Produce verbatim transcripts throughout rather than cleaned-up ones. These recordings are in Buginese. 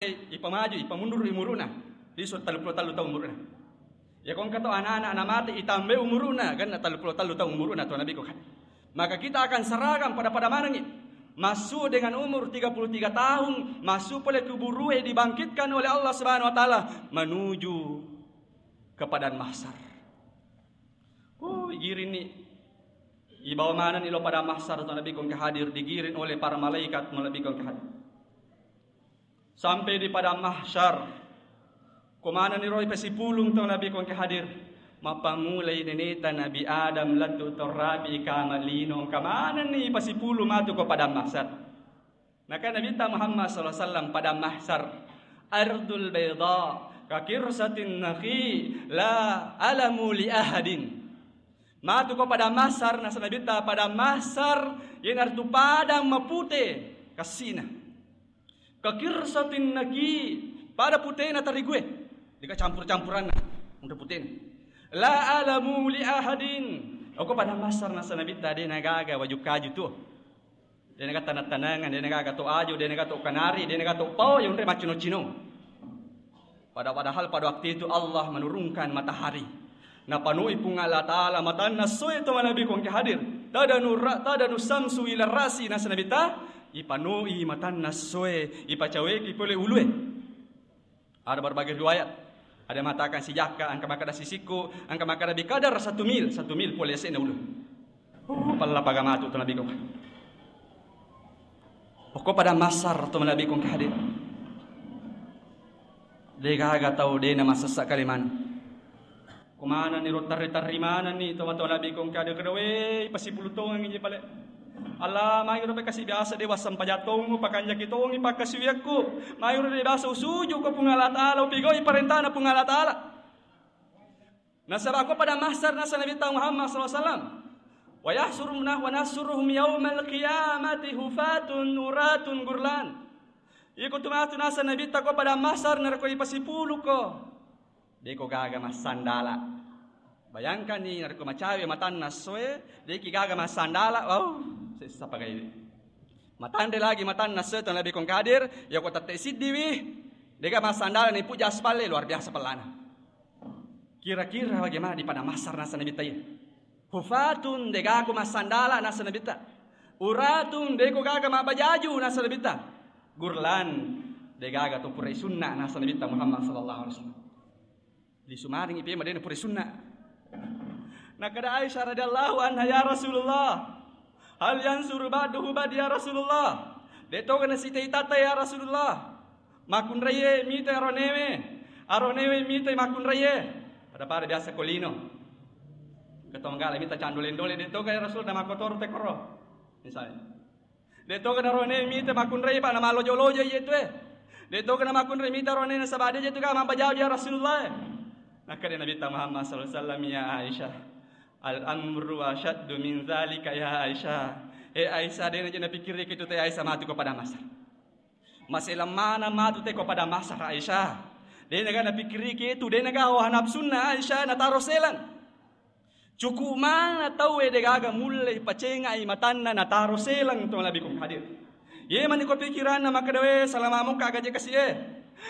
ipamaju, ipamundur umuru'na. Lisu' telluppulo tellu taung umuru'na. Iya ko engka to ana'-ana' namate, itambai umuru'na, ganna telluppulo tellu taung umuru'na to Nabi ko kan. Maka kita akan seragam pada-pada manengngi. Masuk dengan umur tiga puluh tiga tahun, masuk pole kuburue, dibangkitkan oleh Allah Subhanahu wa Ta'ala menuju ke padang mahsyar. Oh, igiring ni. Ibawa maneng ni lao padang mahsyar to Nabi ko engka hadir, digiring oleh para malaikat to Nabi ko engka hadir. Sampai di padang mahsyar, ko maneng ni ro ipasipulung to Nabi ko engka hadir. Mappamulai neneta Nabi Adam lettu to rapi kama lino, engka maneng ni ipasipulung matu ko padang mahsyar. Naka Nabitta Muhammad sallallahu alaihi wasallam, padang mahsyar, ardul baida, ka qirsatin naqi, la alamu li ahadin. Matu ko padang mahsyar, nasa Nabitta, padang mahsyar, iyanaritu padang mapute kassina. Ka qirsatin naqi, pada putena tarigue. Deka campur-campuranna, udah putena. La alamu li ahadin. Oko padang mahsyar, nasa Nabitta, de nagaga waju kaju tu. De nagaga taneng-tanengan, de nagaga to aju, de nagaga to kanari, de nagaga to pao, yonre maccino-cino. Pada, padahal pada waktu itu Allah menurunkan matahari. Napanui Puang Allah Ta'ala matanna soe to Nabi ko engka hadir. Tadanu ra-, tadanu samsu ila rasi, nasa Nabitta, ipanui matanna soe, ipacaweki pole ulue. Ada berbagai riwayat. Ada mengatakan sijakka, engka makkeda sisikku, engka makkeda bikadar satu mil, satu mil pole yase'na ulu. Oh, pella paga matu to Nabi ko. Pokok padang mahsyar to Nabi ko engka hadir. De gaga tau de na masessa kalimana. Ko maneng ni ro tarri-tarri maneng ni to matoa Nabi ko engka de kedawe pasipulung tongengngi je pale. Allah, magi ro pe kasi biasa de wassempajang tongu, pakanjaki tongi pakkasiwiakku. Magi ro de biasa usuju ko Puang Allah Ta'ala, upigau'i parentana Puang Allah Ta'ala. Nasaba ko pada mahsyar, nasa Nabitta Muhammad sallallahu alaihi wasallam, "Wa yahsyuruna wa nahsyuruhum yaumal qiyamati hufatun uratun gurlan." Iko tu matu, nasa Nabitta, ko pada mahsyar narekko ipasipulu ko, de ko gaga massandala. Bayangkan ni, narekko macawe matanna soe, de ki gaga massandala, wow, sessa pagai. Matanre lagi matanna soe to Nabi ko engka hadir, ya ko tette siddiwi, de gaga massandala ni puja aspalle, luar biasa pellana. Kira-kira bagaimana di padang mahsyar, nasa Nabitta iya? Hufatun, de gaga ko massandala, nasa Nabitta. Uratun, de ko gaga mabbajaju, nasa Nabitta. Gurlan, de gaga to purai sunna, nasa Nabitta Muhammad sallallahu alaihi wasallam. Lisu maring ipe madena purai sunna. Nakada Aisyah radhiyallahu anha, "Ya Rasulullah, hal yansuru ba'duhu ba'di ya Rasulullah?" De toga nasita-itata ya Rasulullah. Makkunraie mita aronewe, aronewe mita makkunraie. Pada-pada biasa ko lino. Ketonggala mita candole-ndole, de toga ya Rasul, na makkotoro te koro. Misalnya. De toga na aronewe mita makkunrai pa na mallojo-lojo iye tu e. De toga na makkunrai mita arone nasaba de je tu ka mabbajao ya Rasulullah. Nakkeda Nabitta Muhammad sallallahu alaihi wasallam, "Ya Aisyah, al amru asyaddu min zalika ya Aisyah." Eh Aisyah, de na je napikkiriki tu te Aisyah matu ko pada mahsyar. Maselang maneng matu te ko pada mahsyar Aisyah. De na ga napikkiriki tu, de na ga hawa nafsunna Aisyah nataro selang. Cuku' maneng tauwe de gaga mulle pacengai matanna nataro selang to Nabi ko hadir. Ye mani ko pikiranna makkeda, "We, salama mokka gaje kasi e.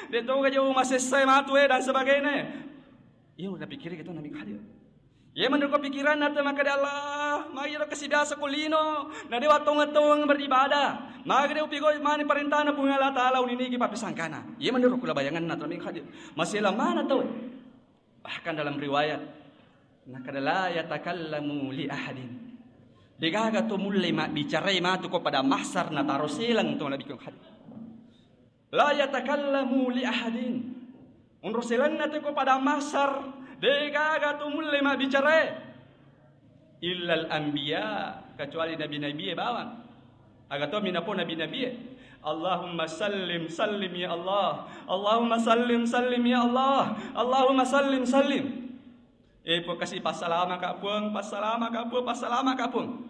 De toga je masessa e matu e dan sebagainya." Iya napikkiri kita Nabi ko hadir. Ye mani ko pikiranna te makkeda, "Allah, magi ro kasi biasa ko lino, na dewa tongeng-tongeng beribadah. Magi de upigoi mani parentana Puang Allah Ta'ala uniniki pappisangkana." Ye mani ro kula bayanganna to Nabi ko hadir. Maselang maneng tauwe. Bahkan dalam riwayat, nakkeda, "La yatakallamu li ahadin." De gaga to mulle mabbicarai matu ko pada mahsyar nataro selang to Nabi ko hadir. "La yatakallamu li ahadin." Onro selanna te ko pada mahsyar, de gaga to mulle mabbicarai. Illal anbiya, kecuali nabi-nabi e bawang. Aga to minapo nabi-nabi e. "Allahumma sallim, sallim ya Allah. Allahumma sallim, sallim ya Allah. Allahumma sallim, sallim." Eh, Puang, kasi passalamaka, Puang, passalamaka, Puang, passalamaka, Puang.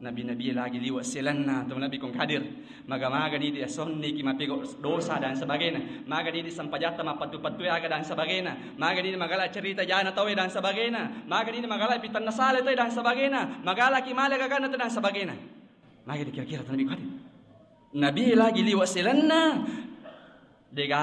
Nabi-nabi e lagi liwa selanna to Nabi ko hadir. Maga-maga ni dia sonni ki mapego dosa dan sebagainya. Maga ni di sempajatta mappatu-patu aga dan sebagainya. Maga ni magala cerita jana tauwe dan sebagainya. Maga ni magala pitanna sale tauwe dan sebagainya. Magala ki male gagana tauwe dan sebagainya. Maga dikira-kira tanabi kadi. Nabi lagi liwa selanna. Degaga